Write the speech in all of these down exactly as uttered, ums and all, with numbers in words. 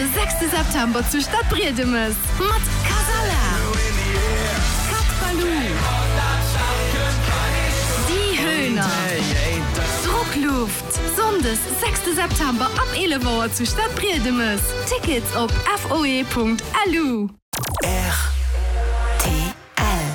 de sechste September zu Stadbriedemes mat Kasala, Cat Ballou, Die Höhner, Druckluft. Sonndes, sechste September ab eelef Auer zu Stadbriedemes. Tickets op foe.lu.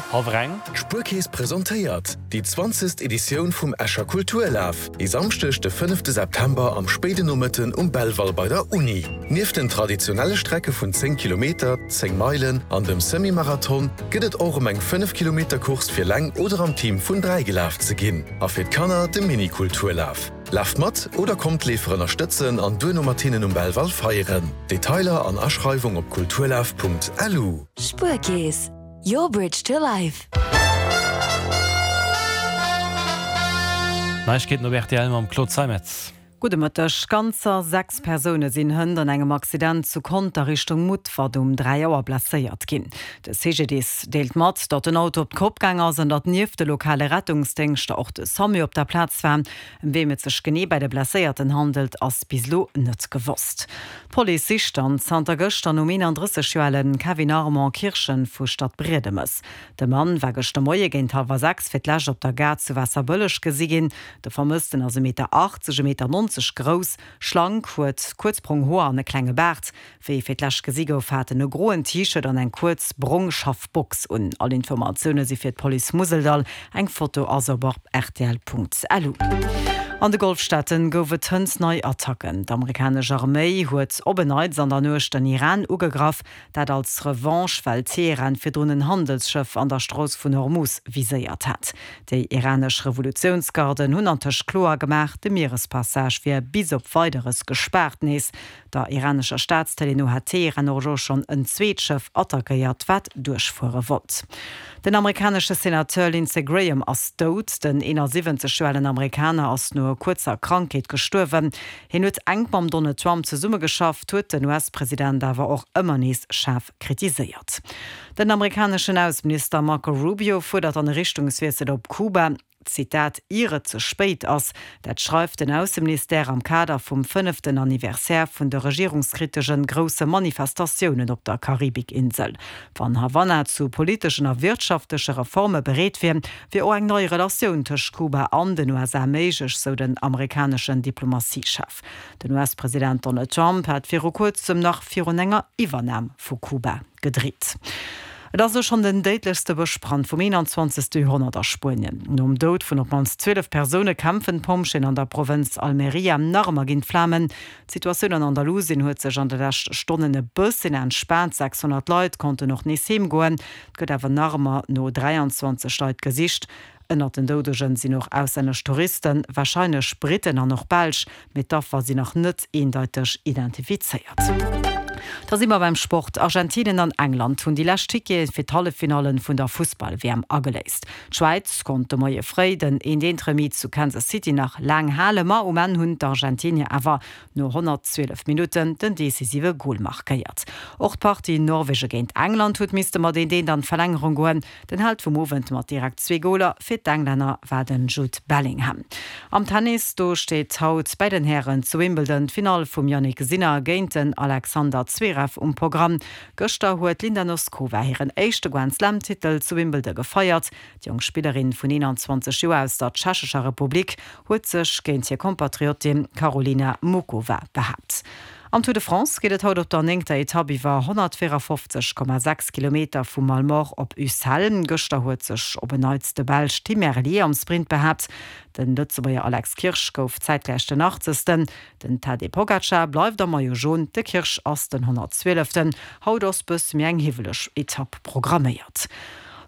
Hallwer eng. D'Spuerkeess presentéiert déi zwanzegst Editioun vum Escher Kulturlaf, e Samschdeg de fënnefte September am spéiden Nomëtten um Belval bei der Uni. Nieft den traditionelle Strecke vun zéng Kilometer, zéng Meilen an dem Semi-Marathon gëtt et och erëm eng fënnef Kilometer Course fir eleng oder am Team vun dräi gelaf ze ginn a fir d'Kanner de Mini-Kulturlaf. Laaft mat oder kommt d'Leefer ënnerstëtzen an duerno mat hinnen um Belval feieren. Detailer an Aschreiwung op kulturlaf.lu. Spuerkeess, your bridge to life. Neiegkeeten op rtl mam Claude Zeimetz. Gudde Mëtteg. Ganzer sechs Persoune sinn hënt an engem Accident zu Conter Richtung Mutfert um dräi Auer blesséiert ginn. De C G D I S deelt mat, datt den Auto op d'Kopp gaang ass an datt nieft de lokale Rettungsdéngschter och de SAMU op der Plaz war. Ëm wem et sech genee bei de Blesséierten handelt, ass bis elo net gewosst. D'Police sicht dann zanter gëschter nom eenandrësseg Joer ale Kevin Armand Kirchen vu Stadbriedemes. De Mann war gëschter Moie géint hallwer sechs fir d'lescht op der Gare zu Waasserbëlleg gesi ginn. De Vermëssten ass e Meter achtzeg, e Meter nonzeg grouss, schlank, huet kuerz brong Hoer an e klenge Baart. Wéi e fir d'lescht gesi gouf, hat en e groen T-Shirt an eng kuerz brong Schaffbox un. All Informatioune si fir d'Police Museldall, eng Foto ass op op rtl Punkt lu. An de Golfstaaten gouf et hënt nei Attacken. D'amerikanesch Arméi huet op en Neits an der Nuecht den Iran ugegraff, dat als Revanche, well Teheran virdrun en Handelsschëff an der Strooss vun Hormuz viséiert hat. Déi iranesch Revolutiounsgarden hunn antëscht kloer gemaach, de Mierespassage wier bis op Weideres gespaart. Nees der iranescher Staatstëlee no hat Teheran och elo schonn en zweet Schëff attackéiert, wat duerchfuere wollt. Den amerikanesche Senateur Lindsey Graham ass dout. Den eenasiwwenzeg Joer alen Amerikaner ass no kuerzer Krankheet gestuerwen. Hien huet enk mam Donald Trump zesummegeschafft, huet den U S-President awer och ëmmer nees schaarf kritiséiert. Den amerikaneschen Ausseminister Marco Rubio fuerdert en Richtungswiessel op Kuba, Zitat, ier et ze spéit ass. Dat schreift den Ausseministère am Kader vum fënneften Anniversaire vun de regierungskriteschen grousse Manifestatiounen op der Karibikinsel. Wann Havanna zu politeschen a wirtschaftleche Reforme bereet wier, wier och eng nei Relatioun tëscht Kuba an den U S A méiglech, sou den amerikaneschen Diplomatiechef. Den U S-President Donald Trump hat viru kuerzem nach virun enger Iwwernam vu Kuba gedreet. Et ass elo schonn den déidlechste Bëschbrand vum eenanzwanzegste Joerhonnert a Spuenien. Nom Doud vun op d'mannst zwielef Persoune kämpfen d'Pompjeeën an der Provënz Almeria nach ëmmer géint d'Flamen. D'Situatioun an Andalusien huet sech an de leschte Stonnen e bëssen entspaant, sechshonnert Leit konnten och nees heem goen. Et gëtt awer nach ëmmer no dräianzwanzeg Leit gesicht. Ënnert den Doudegen sinn och auslännesch Touristen, warscheinlech Britten an och Belsch, mee d'Affer sinn nach net eendeiteg identifizéiert. Da si mer beim Sport. Argentinien an England hunn déi lescht Tickete fir d'Halleffinallen vun der Fussball-W M ageléist. D'Schwäiz konnt de Moie fréi den eent eent Remis zu Kansas City nach laang halen, ma um Enn hunn d'Argentinier awer no honnertzwielef Minutten den decisive Gol markéiert. Och d'Partie Norwege géint England huet misste mat eent eent an d'Verlängerung goen. Den Held vum Owend mat direkt zwee Goler fir d'Englänner war den Jude Bellingham. Am Tennis, do steet haut bei den Hären zu Wimbledon d'Finall vum Jannik Sinner géint den Alexander Zverev um Programm. Gëschter huet d'Linda Noskova hiren éischte Grand-Slam-Titel zu Wimbledon gefeiert. Déi jonk Spillerin vun eenanzwanzeg Joer aus der Tschechescher Republik huet sech géint hir Kompatriotin Karolina Muchova behaapt. Am Tour de France geet et haut op der néngter Etapp iwwer honnertvéierafofzeg Komma sechs Kilometer vu Malemort op Ussel. Gëschter huet sech op en Neits de Belsch Tim Merlier am Sprint behaapt. Den Lëtzebuerger Alex Kirsch gouf zäitgläich den Achtzegsten. Den Tadej Pogacar bleift am Maillot Jaune, de Kirsch ass den honnertzwieleften. Haut ass bësse méi eng hiwweleg Etapp programméiert.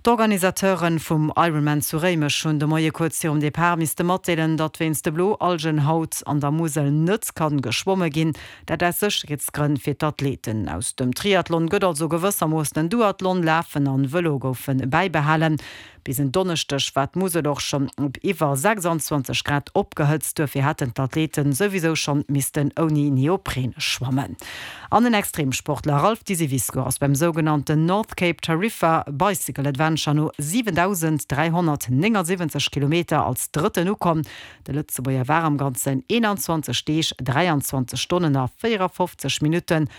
D'Organisateure vum Ironman zu Réimech hunn de Moie kuerz virum Depart misste matdeelen, datt wéinst de Bloalgen haut an der Musel net kann geschwomme ginn. Dat aus Sécherheetsgrënn fir d'Athleten. Aus dem Triathlon gëtt also gewëssermoossen en Duathlon, Lafen an Vëlo goufe bäibehalen. Bis en Donneschdeg war d'Musel och schonn op iwwer sechsanzwanzeg Grad opgehëtzt, duerfir hätten d'Athleten souwisou schonn missten ouni Neopren schwammen. An den Extremsportler Ralph Disivisco ass beim sougenannten North Cape Tarifa Bicycle Adventure no siwendausenddräihonnertnéngasiwwenzeg Kilometer als Drëtten ukomm. De Lëtzebuerger war am Ganzen eenanzwanzeg Deeg, dräianzwanzeg Stonnen a véierafofzeg Minutten